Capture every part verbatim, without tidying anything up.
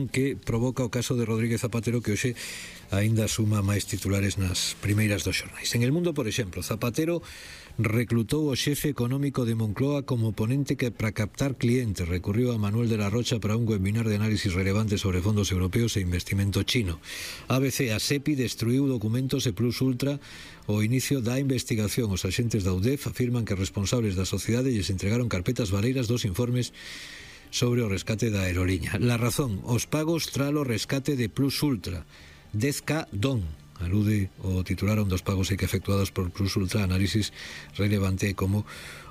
que provoca o caso de Rodríguez Zapatero, que hoxe aínda suma máis titulares nas primeiras dos xornais. En El Mundo, por exemplo, Zapatero reclutou o xefe económico de Moncloa como ponente que para captar clientes recurriu a Manuel de la Rocha para un webinar de análisis relevante sobre fondos europeos e investimento chino. A B C, a SEPI destruiu documentos e Plus Ultra o inicio da investigación. Os axentes da U D E F afirman que responsables da sociedade lles entregaron carpetas valeiras dos informes sobre o rescate da aeroliña. La Razón, os pagos tralo rescate de Plus Ultra. dez K don. Alude o titular dos pagos que efectuados por Plus Ultra, análisis relevante como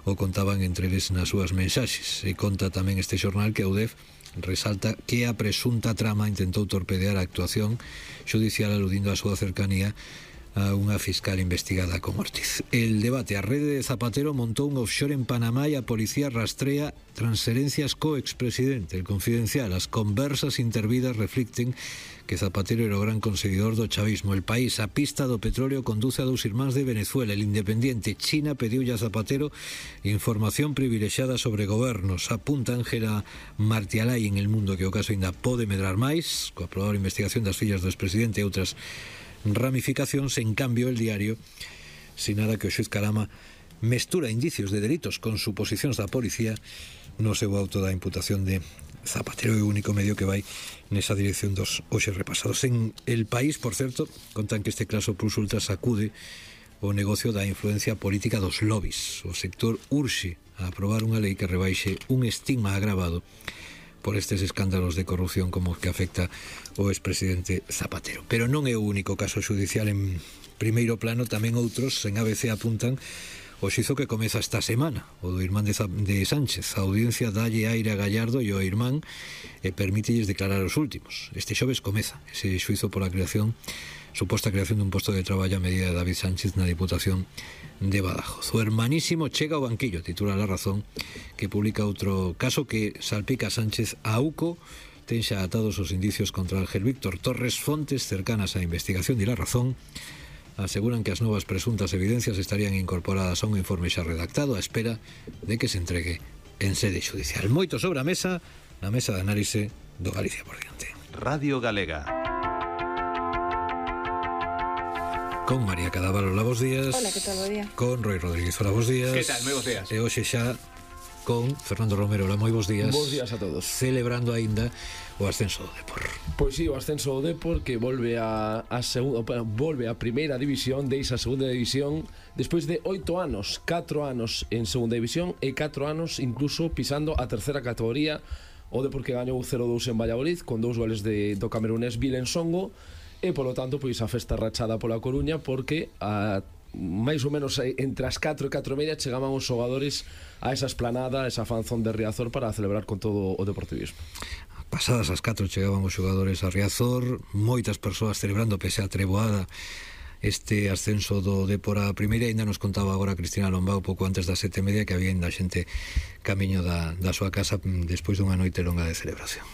o contaban entre eles nas súas mensaxes. E conta tamén este xornal que a U D E F resalta que a presunta trama intentou torpedear a actuación xudicial aludindo a súa cercanía a unha fiscal investigada con Ortiz. El Debate, a rede de Zapatero montou un offshore en Panamá e a policía rastrea transferencias co expresidente. El Confidencial, as conversas intervidas reflicten que Zapatero era o gran conseguidor do chavismo. El País, a pista do petróleo conduce a dous irmáns de Venezuela. El Independiente, China pediulle a Zapatero información privilexiada sobre gobernos. Apunta Ángela Martialay en El Mundo que o caso ainda pode medrar máis, coa probable investigación das fillas do expresidente e outras ramificacións. En cambio, El Diario sinala que o xuiz Carama mestura indicios de delitos con suposicións da policía no seu auto da imputación de Zapatero, é o único medio que vai nesa dirección dos hoxe repasados. En El País, por certo, contan que este caso Plus Ultra sacude o negocio da influencia política dos lobbies. O sector urxe a aprobar unha lei que rebaixe un estigma agravado por estes escándalos de corrupción como que afecta o expresidente Zapatero. Pero non é o único caso xudicial en primeiro plano, tamén outros en A B C apuntan o xizo que comeza esta semana, o do irmán de, de Sánchez. A audiencia dalle aire a Gallardo e o irmán e permítelles declarar os últimos. Este xoves comeza ese xuizo pola creación, suposta creación dun posto de traballo a medida de David Sánchez na Diputación de Badajoz. O hermanísimo chega ao banquillo, titula La Razón, que publica outro caso que salpica a Sánchez. A UCO ten xa atados os indicios contra Ángel Víctor. Torres, fontes cercanas á investigación de La Razón aseguran que as novas presuntas evidencias estarían incorporadas a un informe xa redactado á espera de que se entregue en sede xudicial. Moito sobre a mesa, na mesa de análise do Galicia por diante. Radio Galega. Con María Cadávalo, hola, bos días. Hola, que tal, bo día. Con Roy Rodríguez, hola, bos días. Que tal, moi bos días. E hoxe xa con Fernando Romero, hola, moi bos días. Bos días a todos. Celebrando aínda o ascenso do Depor. Pois si, sí, o ascenso do Depor que volve a, a segunda, volve a primeira división, deixa a segunda división despois de oito anos, catro anos en segunda división e catro anos incluso pisando a terceira categoría. O Depor que gañou cero dous en Valladolid con dous goles de, do camerunés Vilen Songo e polo tanto pois a festa rachada pola Coruña porque a máis ou menos entre as catro e catro e media chegaban os xogadores a esa esplanada, a esa fanzón de Riazor para celebrar con todo o deportivismo. Pasadas as catro chegaban os xogadores a Riazor, moitas persoas celebrando pese a treboada este ascenso do Depor a primeira. Ainda nos contaba agora Cristina Lombao pouco antes das sete e media que había ainda xente camiño da, da súa casa despois dunha noite longa de celebración.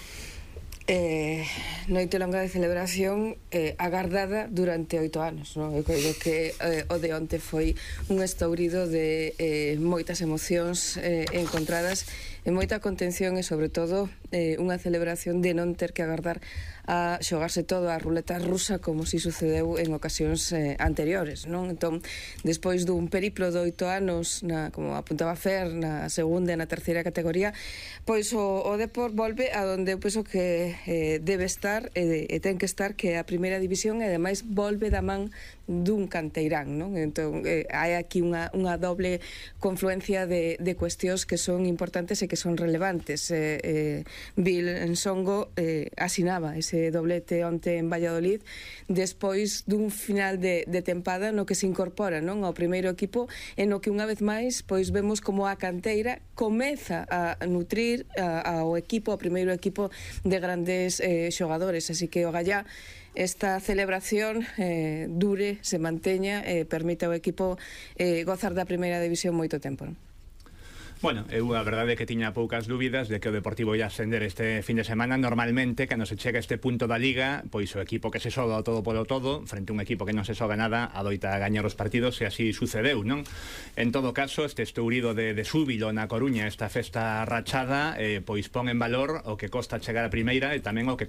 Eh, noite longa de celebración eh, agardada durante oito anos, non? Eu creo que eh, o de onte foi un estourido de eh, moitas emocións eh, encontradas e moita contención e sobre todo eh, unha celebración de non ter que agardar a xogarse todo a ruleta rusa como si sucedeu en ocasións eh, anteriores, non? Entón, despois dun periplo de oito anos na, como apuntaba Fer, na segunda e na terceira categoría, pois o, o Depor volve a donde eu penso que eh, debe estar e, e ten que estar, que é a primeira división, e ademais volve da man dun canteirán, non? Entón, eh, hai aquí unha, unha doble confluencia de, de cuestións que son importantes e que son relevantes. Eh, eh, Vilen Songo eh, asinaba ese doblete onte en Valladolid despois dun final de, de tempada no que se incorpora, non, ao primeiro equipo e no que unha vez máis pois vemos como a canteira comeza a nutrir a, ao equipo, ao primeiro equipo de grandes eh, xogadores, así que o Gallá esta celebración eh, dure, se manteña e eh, permite ao equipo eh, gozar da primeira división moito tempo, non? Bueno, eu a verdade é que tiña poucas dúbidas de que o Deportivo ia ascender este fin de semana. Normalmente, cando se chega a este punto da Liga, pois o equipo que se xoga o todo polo todo, frente a un equipo que non se xoga nada, adoita a gañar os partidos, e así sucedeu, non? En todo caso, este estourido de, de súbilo na Coruña, esta festa rachada, eh, pois pon en valor o que costa chegar a primeira e tamén o que costa